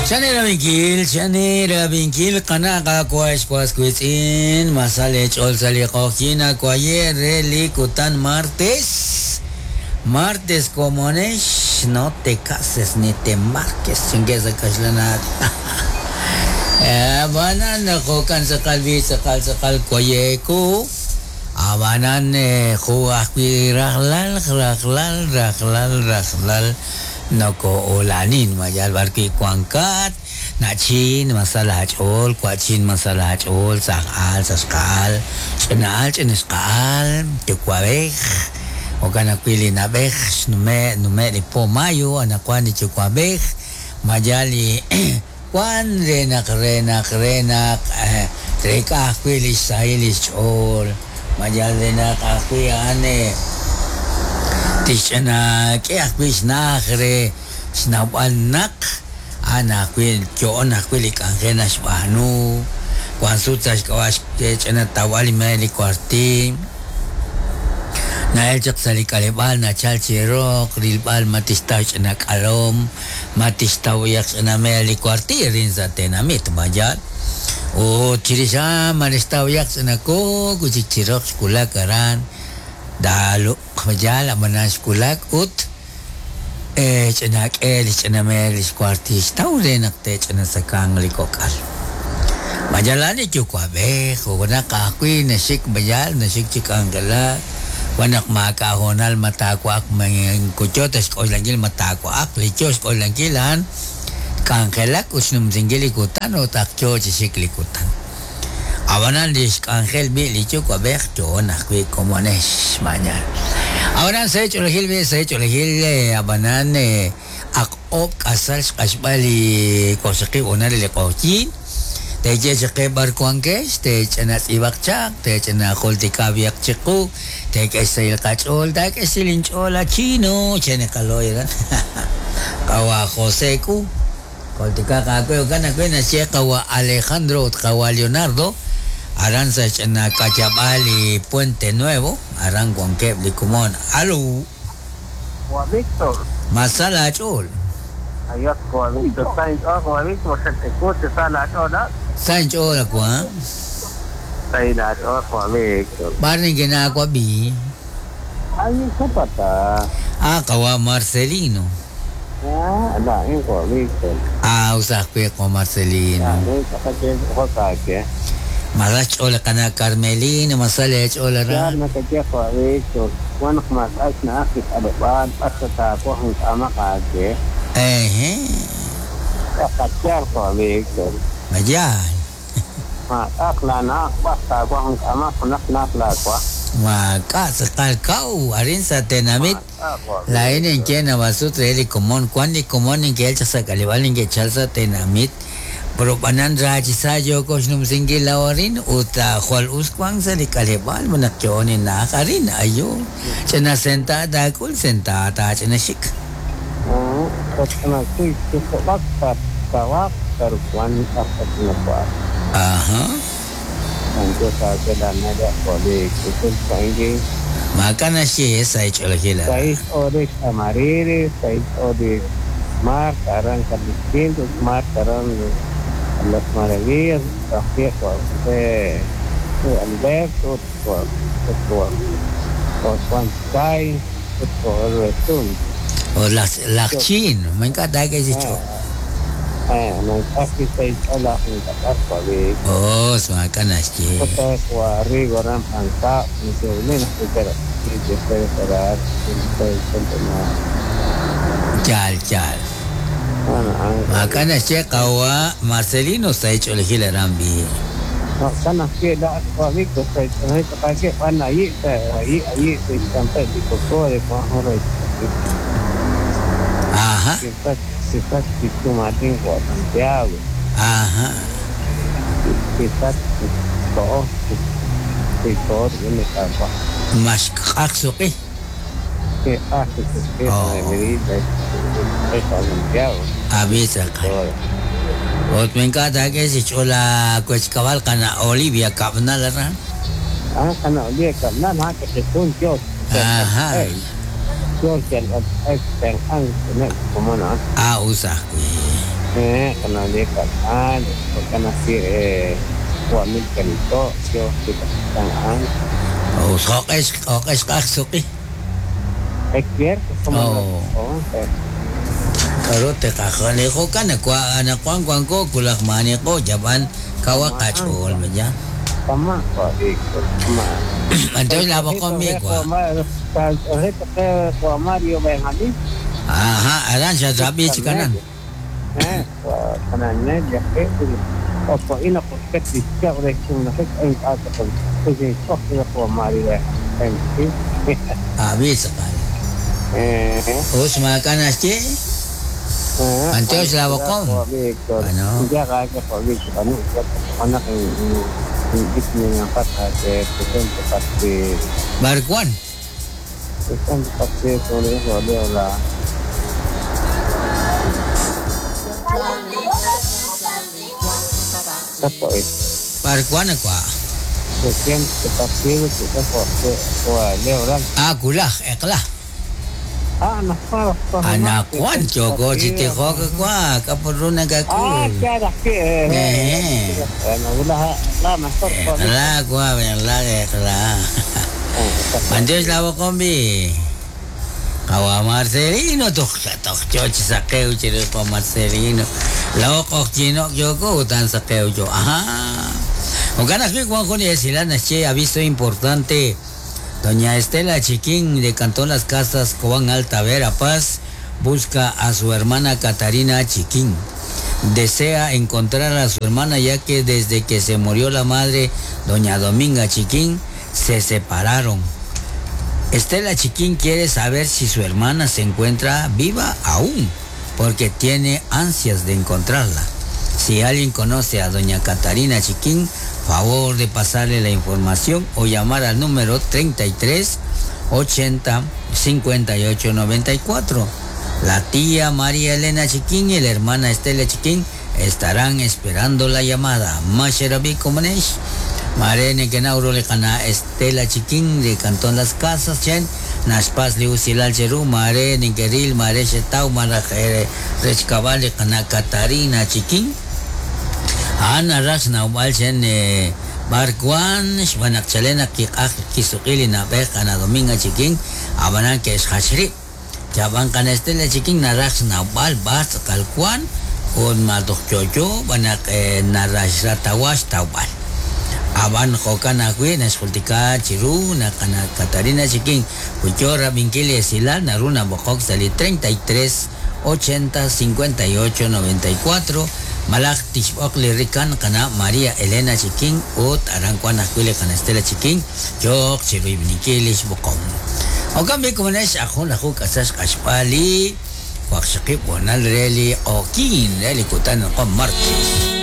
Chane rab'inkil, chane rab'inkil, qana' qaawa' ex was wiitz'in, ma sa leech'ool sa' li q'oqyink awaye' re li kutan martes. Martes komonex, no te cases ni te marques, chankeb' sa' kaxlan aatin. Ab'anan jo'kan tz'aqal b'i' tz'aqal tz'aqal waye'ku. Ab'anan jo' ajwi' rajlal, rajlal, rajlal, rajlal noko'ula'anin ma yal b'arwi' wankat, na'chin ma sa laach'ool, wa'chin ma sa laach'ool, sa' aal, sa' xqa'al, ch'ina'al, ch'inxqa'al, yuwa'b'ej, jo'kan ajwi' li na'b'ej xnume' nume' li po mayo anaqwan li yuwa'b'ej, ma yal li wan re naq re naq re naq treek'a ajwi' li xsahil li xch'ool, ma yal re naq ajwi' a'an tixch'ina k'e ajwi' xna'aj re xnawb'al naq a'an ajwi' yo'on ajwi' li k'anjel naxb'aanu, wan sut sa' xk'ab'a' xch'ina tawb'al li meel li kuartiil, na'el chaq sa' li k'aleb'aal nachal chi roq rilb'al ma tixtaw xch'ina k'alom, ma tixtaw b'ayaq xch'ina meel li kuartiil arin sa' tenamit, ma yaal? Ut chirix a'an ma naxtaw b'ayaq ch'ina kook wi' chik chi roq xwulak aran Daalo', ma yaal? Ab'anan xwulak ut ch'ina k'e li xch'ina meel li xkuartiil xtaw re naq te'ch'ina tzakanq li kok'al. Ma yaal a'an li yuwa'b'ej junaq ajwi' naxik ma yaal naxik chi k'anjelak, wan naq maak'a' hoonal ma taawa'aq ma moko yoo ta xk'oxlankil ma taawa'aq, li yoo xk'oxlankil a'an k'anjelak ut xnumsinkil li kutan ut ak yoo chi xik li kutan. Ab'anan li xk'anjel b'i' li yuwa'b'ej yo'on ajwi' komonex, ma yaal? Ab'anan sa' ch'oolejil b'i' sa' ch'oolejil ab'anan ak oob' k'asal xq'axb'al li waqxaqib' hoonal re li q'oqyink, teeye chaq qe b'ar wankex, teech'ina tz'iib'aq chaq, teech'ina jultika b'ihaq chiqu, teek'e xsahil qach'ool, taak'e xsahil inch'ool a chino, chan li qalo'y aran qawa' José K'u. Jultikaq aawe jo'kan ajwi' naxye qawa' Alejandro ut qawa' Leonardo, aran sa' xch'ina ka'yab'aal li Puente Nuevo, aran wankeb' li komon. Alo. Wa Víctor. Ma sa laach'ool? Ayos wa Víctor. Sa inch'ool wa Víctor, xat-ewu chi sa laach'ool laa'at? Sa inch'ool wa. Sa laach'ool wa Víctor. B'ar nikinnaawab'i? Ay, Zapata. Ah, qawa' Marcelino. Ah, laa'in wa Víctor. Ah, us ajwi' qawa' Marcelino. Laa'in tz'aqal chik b'oqok aawe. Ma sa xch'ool li qana' Carmelina, ma sa leech'ool aran? Yaal nakaye wa Víctor. Wan naq maak'a' xna'aj li k'aleb'aal b'ar ta taawaj ink'amaq aawe. Ehe. Tz'aqal yaal wa Víctor. Ma yaal? Maak'a'aq laana'aj b'ar taawaj ink'amaq junaq na'aj laawaj. Maak'a' tz'aqal kaw arin sa' tenamit. Maak'a' wa Laa'in Víctor. ninye naab'al sut re li komon, wan li komon ninke'el chaq sa' k'aleb'aal ninke'chal sa' tenamit, pero b'anan ra chi sa' yooko xnumsinkil laa'o arin ut jwal us wank sa' li k'aleb'aal ma naq yo'on inna'aj arin, ayo, ch'ina sentaad taak'ul, sentaad taach'ina xik. Ch'ina kuy ch'ina tawaq pero wan b'ar ta ch'ina wa'ak. Ajá. Antes aawe laana'leb' jo' li k'utul sa'inki. Maak'a' naxye sa' xch'oolejil aran. Sahil xch'ool Amarilis, sahil xch'ool li Marta aran San Quinto, Marta aran Las Maravillas, ajwi' jo' José Alberto, jo' jo' Juan Sky, ut jo' Retún. O laj laj Chino, ma ink'a' taak'e chi xch'ool. Maak'a' sahil xch'ool aj ink'ab'ar jo' li Oh, maak'a' naxye. José Arrigo aran Pancap, Yaal, yaal. Maak'a' naxye qawa' Marcelino sa' xch'oolejil aran b'i'. Jo'kan ajwi' laa'at wa Víctor, sa' xch'oolejil tz'aqal b'an ayi' ayi' ayi' xkanpe' li koko de Juan Jorge. Ajá. Quizás Martín o Santiago. Ajá. Quizás todo, todo viene capaz. Mas k'aq suq'i. Que hace que Oh. de medida es Santiago. Abi tz'aqal. Ut ma ink'a' taak'e chi xch'ool aawechkab'al qana' Olivia Kab'nal aran. Ah, kana Olivia Kab'nal, ah, que se jun Dios. Ajá. Dios el el como no. Ah, us ajwi'. Qana' Kal'al, jo'kan ajwi' wa' Milcanito, yo a'an. Joq'e xq'aj suq'i. Es cierto, como Oh. 11. K'aru teqajale jo'kan anaqwan wanko kulaj maaniqo yab'an kawa qach'ool ya. Tama, wa' Víctor, tama. Entonces la boca mi kwa. Wa Mario Benjamín. Aha, aran siya sabi si kanan. Wa kanan ya o ina ko ket de kun na en ata kon kasi ko wa Mario Benjamín. Abi sakal. Us makan aschi. Antes la bocón. Ano? Ya ka ko Víctor, ano anak hindi niya pata que presente pati Barkuan. presente pati sobre eso la Tapo eh. Barkuan kwa. Presente partido que tapo wa Leo Ran. Ah, kulah, eklah. Ah, nakwa. Anakwan choko chitijo kwa kapuruna Ah, kakul. kaya que Eh. Ano wala la masok ko. Eklah kwa, eklah eklah. Antes la combi. Kawa Marcelino tok tok choch sakeu chiro pa Marcelino. La ok chino yoko tan sakeu yo. Ajá. Ogan aquí Juan Juan y Silana che aviso importante. Doña Estela Chiquín de Cantón Las Casas, Cobán Alta Verapaz, busca a su hermana Catarina Chiquín. Desea encontrar a su hermana ya que desde que se murió la madre, doña Dominga Chiquín, se separaron. Estela Chiquín quiere saber si su hermana se encuentra viva aún, porque tiene ansias de encontrarla. Si alguien conoce a doña Catarina Chiquín, favor de pasarle la información o llamar al número 33 80 58 94. La tía María Elena Chiquín y la hermana Estela Chiquín estarán esperando la llamada. Masherabi Komanesh. Marene Kenauro le kana Estela Chiquín de Cantón Las Casas, Chen, Nashpas Liusilal Cheru, Mare Nikeril, Mare Shetau, Mara Rechkabal le kana Catarina Chiquín. Ana Rax Naubal Chen Barkuan, Shbanak Chalena Kikaj Kisuqili Nabej kana Dominga Chiquín, Abanan que es Hashri. Chaban kana Estela Chiquín Narax Naubal Bas Kalkuan, Un Madochoyo, Banak Narax Ratawash Taubal. Aban jokan ajwi naxjultika chiru nakana Catarina Chiquín Huichora Vinkili Esilal Naruna Bojok Sali 33 80 58 94 Malaj Tixbok Lirikan kana María Elena Chiquín ut Arankuan ajwi kana Estela Chiquín Yok chiru Vinkili Xbokom Okambi kumanesh ajun ajuk asax k'axpali Waqxaqib wanal reli okin reli kutan qom martes.